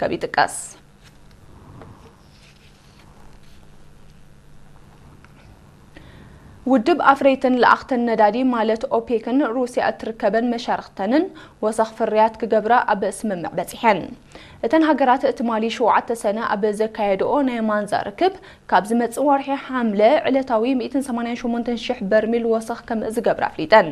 ከም ይጥቀስ። ውድብ ኣፍረይትን ለኣኽትን ነዳዲ ማለት ኦፔክን ሩስያ እትርከበን መሻርኽተንን ወሰኽ ፍርያት ክገብራ ኣብ ስምምዕ በጺሐን። እተን ሃገራት ትማሊ ሸውዓተ ሰነ ኣብ ዘካየድኦ ናይ ማንዛ ርክብ፣ ካብ ዝመጽእ ወርሒ ሓምለ ዕለታዊ ሚእትን ሰማንያን ሸሞንተን ሽሕ በርሚል ወሰኽ ከም ዝገብራ ኣፍሊጠን።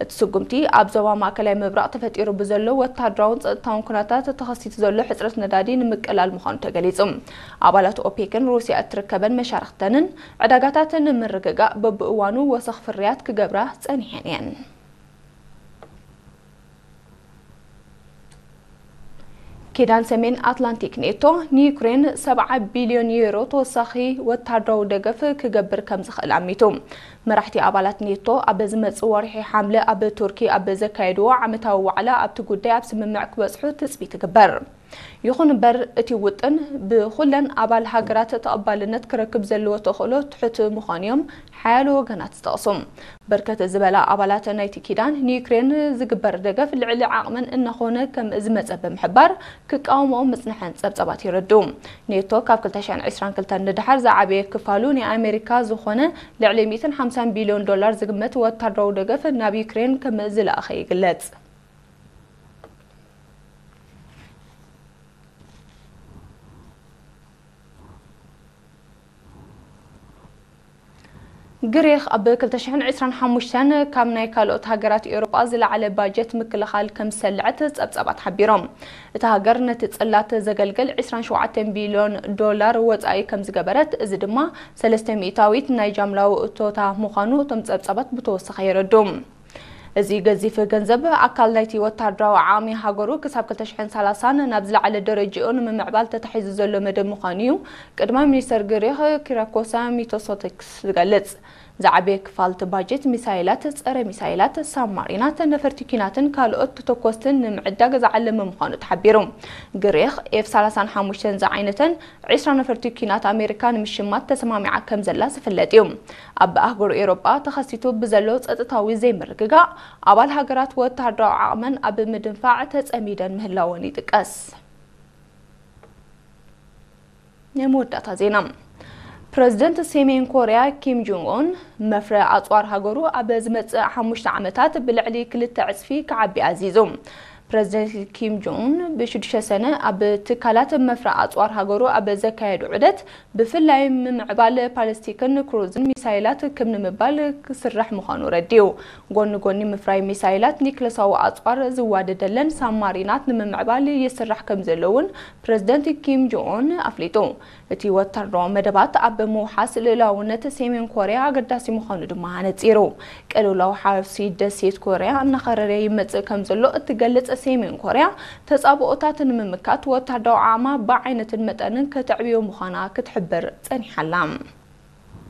እቲ ስጉምቲ ኣብ ዞባ ማእከላይ ምብራቕ ተፈጢሩ ብዘሎ ወታደራውን ጸጥታውን ኩነታት ተኸሲቱ ዘሎ ሕጽረት ነዳዲ ንምቅላል ምዃኑ ተገሊጹ። ኣባላት ኦፔክን ሩስያ እትርከበን መሻርኽተንን ዕዳጋታት ንምርግጋእ በብእዋኑ ወሰኽ ፍርያት ክገብራ ጸኒሐን እየን። ኪዳን ሰሜን ኣትላንቲክ ኔቶ ንዩክሬን ሰብዓ ቢልዮን ዩሮ ተወሳኺ ወታደራዊ ደገፍ ክገብር ከም ዝኽእል ኣሚቱ። መራሕቲ ኣባላት ኔቶ ኣብ ዝመጽእ ወርሒ ሓምለ ኣብ ቱርኪ ኣብ ዘካየድዎ ዓመታዊ ዋዕላ ኣብቲ ጉዳይ ኣብ ስምምዕ ክበጽሑ ትጽቢት ይግበር። ይኹን እምበር፣ እቲ ውጥን ብኹለን ኣባል ሃገራት ተቐባልነት ክረክብ ዘለዎ ተኽእሎ ትሑት ምዃኑ እዮም ሓያሎ ወገናት ዝጠቕሱ። በርከት ዝበላ ኣባላት ናይቲ ኪዳን ንዩክሬን ዝግበር ደገፍ ልዕሊ ዓቕመን እናኾነ ከም ዝመጸ ብምሕባር ክቃወምኦ ምጽንሐን ጸብጻባት የረድኡ። ኔቶ ካብ ክልተ ሽሕን ዕስራን ክልተን ንደሓር ዝዓበየ ክፋሉ ናይ ኣሜሪካ ዝኾነ ልዕሊ ሚእትን ሓምሳን ቢልዮን ዶላር ዝግመት ወታደራዊ ደገፍ ናብ ዩክሬን ከም ዝለኣኸ ይግለጽ። ግሪኽ ኣብ ክልተ ሽሕን ዕስራን ሓሙሽተን ካብ ናይ ካልኦት ሃገራት ኤውሮጳ ዝለዓለ ባጀት ምክልኻል ከም ዝሰልዐት ጸብጻባት ሓቢሮም። እታ ሃገር ነቲ ጽላት ዘገልግል ዕስራን ሸውዓተን ቢልዮን ዶላር ወጻኢ ከም ዝገበረት፣ እዚ ድማ ሰለስተ ሚእታዊት ናይ ጃምላዊ እቶታ ምዃኑ እቶም ጸብጻባት ብተወሳኺ የረድኡ። እዚ ገዚፍ ገንዘብ ኣካል ናይቲ ወታደራዊ ዓቕሚ ሃገሩ ክሳብ ክልተ ሽሕን ሰላሳን ናብ ዝለዓለ ደረጃኡ ንምምዕባል ተታሒዙ ዘሎ መደብ ምዃኑ እዩ ቀዳማይ ሚኒስተር ግሪኽ ኪራኮሳ ሚቶሶቲክስ ዝገልጽ። ዝዓበየ ክፋል እቲ ባጀት ሚሳይላት፣ ጸረ ሚሳይላት፣ ሳብማሪናት፣ ነፈርቲ ኲናትን ካልኦት ተተኮስትን ንምዕዳግ ዝዓለመ ምዃኑ ተሓቢሩ። ግሪኽ ኤፍ ሰላሳን ሓሙሽተን ዝዓይነተን ዕስራ ነፈርቲ ኲናት ኣሜሪካ ንምሽማት ተሰማሚዓ ከም ዘላ ዝፍለጥ እዩ። ኣብ ኣህጉር ኤውሮጳ ተኸሲቱ ብዘሎ ጸጥታዊ ዘይምርግጋእ፣ ኣባል ሃገራት ወተሃደራዊ ዓቕመን ኣብ ምድንፋዕ ተጸሚደን ምህላወን ይጥቀስ። ናይ መወዳእታ ዜና። ፕረዚደንት ሰሜን ኮርያ ኪም ጆንግ ኡን፣ መፍረ ኣጽዋር ሃገሩ ኣብ ዝመጽእ ሓሙሽተ ዓመታት ብልዕሊ ክልተ ዕጽፊ ክዓቢ ኣዚዙ። ፕረዚደንት ኪም ጆንግ ኡን ብሽዱሽተ ሰነ ኣብ ትካላት መፍረ ኣጽዋር ሃገሩ ኣብ ዘካየዱ ዑደት፣ ብፍላይ ምምዕባል ፓለስቲክን ክሩዝን ሚሳይላት ክም ንምባል ክስራሕ ምዃኑ ረዲኡ። ጎኒ ጎኒ ምፍራይ ሚሳይላት፣ ኒክለሳዊ ኣጽዋር ዝዋደደለን ሳብማሪናት ንምምዕባል ይስራሕ ከም ዘሎ እውን ፕረዚደንት ኪም ጆንግ ኡን ኣፍሊጡ። እቲ ወታደራዊ መደባት ኣብ ምውሓስ ልኡላውነት ሰሜን ኮርያ ኣገዳሲ ምዃኑ ድማ ኣነጺሩ። ቅልውላው ሓውሲ ደሴት ኮርያ እናኸረረ ይመጽእ ከም ዘሎ እትገልጽ ሰሜን ኮርያ፣ ተጻብኦታት ንምምካት ወታደራዊ ዓቕማ ብዓይነትን መጠንን ከተዕብዮ ምዃና ክትሕብር ጸኒሓ ኣላ።